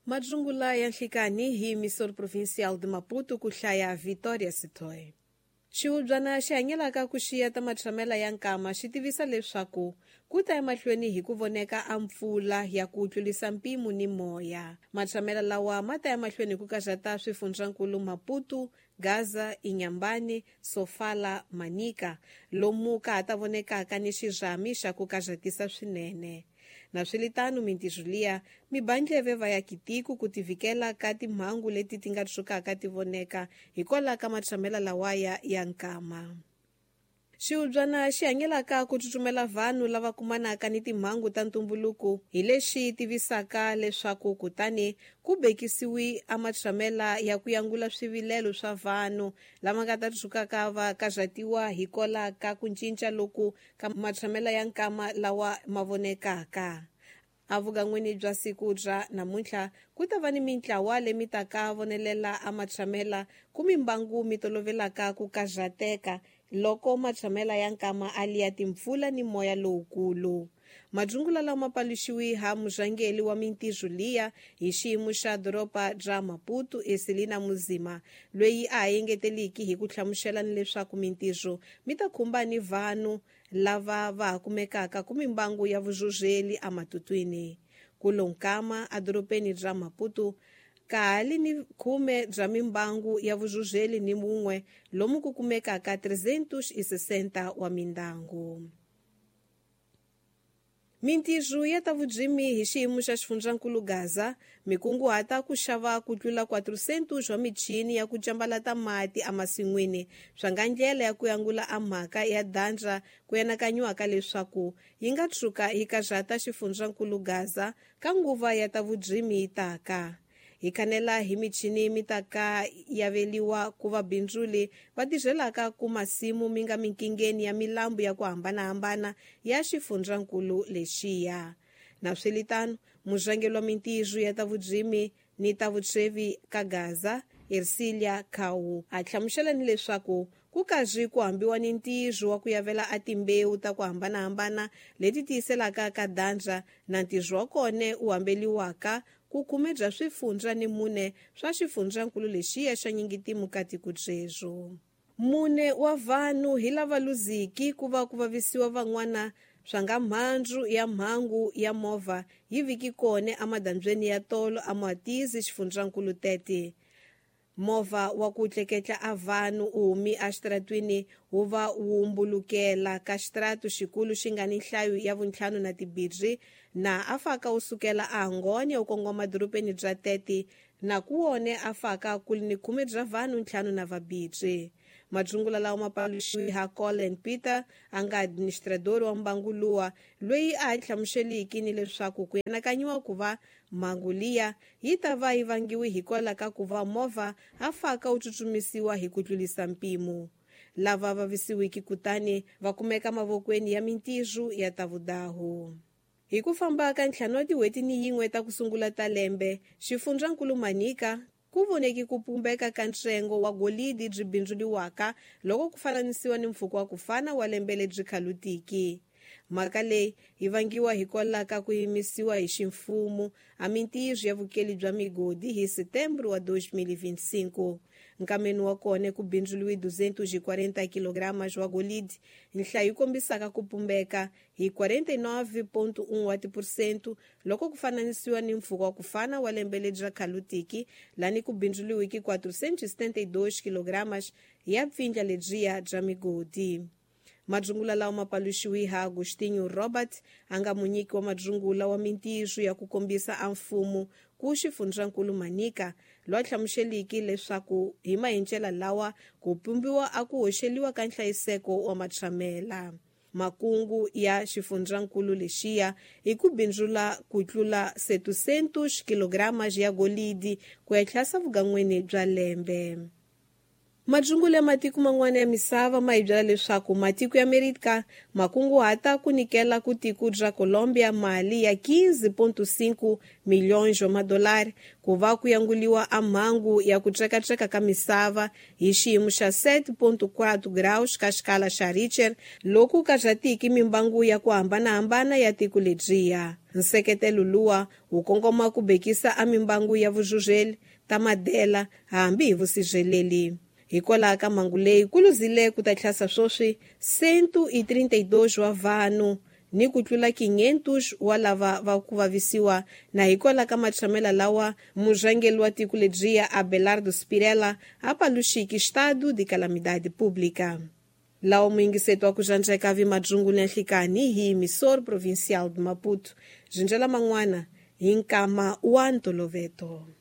Madzungula ya nhlikani hi Emissor Provincial de Maputo ku hlaya Victoria Sitoe. Xihubyana xi hanyelaka ku xiya ta matshamela ya nkama xi tivisa leswaku ku ta emahlweni hi ku voneka a mpfula ya ku tlurisa mpimo ni moya. Matshamela lawa ma ta emahlweni hi ku karhata swifundzankulu Maputo, Gaza, Inhambane, Sofala, Manica, lomu ka ha ta vonekaka ni xirhami xa ku karhatisa swinene. Naswilitano mintirho liya mi ba ndleve va ya kitiko ku tivikela ka timhangu leti ti nga tshukaka ti voneka hikwalaho ka matshamela lawaya ya nkama. Xihubyana xi hanyelaka ku tsutsumela vanhu lava kumanaka ni timhangu ta ntumbuluko hi lexi tivisaka leswaku kutani ku bekisiwi a matshamela ya ku yangula swivilelo swa vanhu lava nga ta tshukaka va karhatiwa hikwalaho ka ku cinca loku ka matshamela ya nkama lawa ma vonekaka. Evugan'wini bya siku bya namuntlha ku ta va ni mintlawa leyi taka vonelela a matshamela ku mimbangu mi tolovelaka ku karhateka loko matshamela ya nkama a liya timpfula ni moya lowukulu. Madzungula lama paluxiwi ha murhangeri wa mintirho liya hi xiyimo xa doroba bya Maputo Eselina Muzima, loyi a ha engeteliki hi ku hlamusela ni leswaku mintirho mi ta khumba ni vanhu lava va ha kumekaka ku mimbangu ya vuzhuzheli ematutwini. Kulo nkama edorobeni bya Maputo ka ha li ni 10 bya mimbangu ya vuzhuzheli ni mun'we lomu ku kumekaka 360 wa mindyangu. Mintirho ya ta vurimi hi xiyimo xa xifundzankulu Gaza mi kunguhata ku xava ku tlula 400 wa michini ya ku cambalata mati emasin'wini swa nga ndlela ya ku yangula a mhaka ya dandra ku anakanyiwaka leswaku yi nga tshuka yi karhata xifundzankulu Gaza ka nguva ya ta vurimi yi taka. Hi khanela hi michini mi taka yaveliwa ku vabindzuli va tirhelaka ku masimu mi nga minkingeni ya milambu ya ku hambanahambana ya xifundzankulu lexiya. Naswilitano, murhangeri wa mintirho ya ta vurimi ni ta vutshwevi ka Gaza, Ercilia Kau, a hlamusela ni leswaku ku karhi ku hambiwa ni ntirho wa ku yavela a timbewu ta ku hambanahambana leti tiyiselaka ka dandra na ntirho wa kona wu hambeliwaka ku khume bya swifundza ni mune swa xifundzankulu lexiya xa nyingitimu ka tiko byebyo. Mune wa vanhu hi lava luziki ku va ku vavisiwa van'wana swa nga mhandzu ya mhangu ya movha yi viki kona emadambyeni ya tolo eMatizi xifundzankulu 30. Movha wa ku tleketla a vanhu u humi exitaratwini wu va wu mbulukela ka xitaratu xikulu xi nga ni nhlayo ya vuntlhanu na tibirhi na a faka wu sukela a Angônia wu kongoma dorobeni bya Tete na ku wone a faka ku li ni khume bya vanhu ntlhanu na vabirhi. Madzungula lawa ma paluxiwi ha Colin Peter a nga administrador wa mbangu luwa loyi a ha hlamuseliki ni leswaku ku anakanyiwa ku va mhangu liya yi ta va yi vangiwi hikwalaho ka ku va movha a faka wu tsutsumisiwa hi ku tlurisa mpimo. Lava vavisiwiki kutani va kumeka mavokweni ya mintirho ya ta vudahu. Hi ku famba ka ntlhanu wa tin'hweti ni yin'we ta ku sungula ta lembe, xifundzankulu Manica ku voneki ku pumbeka ka ntsengo wa golidi byi bindzuriwaka loko ku fananisiwa ni mpfhuka wa ku fana wa lembe lebyi khalutiki. Mhaka leyi yi vangiwa hikwalaho ka ku yimisiwa hi ximfumo a mintirho ya vukeli bya migodi hi Setembro wa 2025. Nkameni wa kona ku bindzuriwe 240 kg wa golidi, nhlayo yi kombisaka ku pumbeka hi 49.1 wa tiphesente loko ku fananisiwa ni mpfhuka wa ku fana wa lembe lebyi ra khalutiki lani ku bindzuriweke 472 kg ya pfindla lebyiya bya migodi. Madzungula lawa ma paluxiwi ha Agostinho Robert a nga munyiki wa madzungula wa mintirho ya ku kombisa a mfumo ku xifundzankulu Manica, loyi a hlamuseliki leswaku hi mahencela lawa ku pumbiwa a ku hoxeliwa ka nhlayiseko wa matshamela. Makungu ya xifundzankulu lexiya hi ku bindzula ku tlula 700 kg ya golidi ku ya tlhasa vugan'wini bya lembe. Majungulu ya matiko man'wana ya misava ma hi byela leswaku matiko ya Amerika ma kunguhata ku nyikela ku tiko bya Colombia mali ya 15.5 milhões wa madolari ku va ku yanguliwa a mhangu ya ku tsekatseka ka misava hi xiyimo xa 7.4 graus ka xikala xa Richter loku katsatiki mimbangu ya ku hambanahambana ya tiko lebyiya. Nseketelo luwa wu kongoma ku bekisa a mimbangu ya vuzhuzheli ta madela hambi hi vusirheleli. Hikwalaho ka mhangu leyi ku luzile ku ta tlhasa swoswi 132 wa vanhu ni ku tlula 500 wa lava va ku vavisiwa na hikwalaho ka matshamela lawa murhangeri wa tiko lebyiya Abelardo Spirella a paluxiki estado de calamidade pública. Lawa muyingiseti wa ku xandzeka vi madzungulu ya nhlikani hi Emissor Provincial de Maputo. Zinjela man'wana hi nkama wa ntoloveto.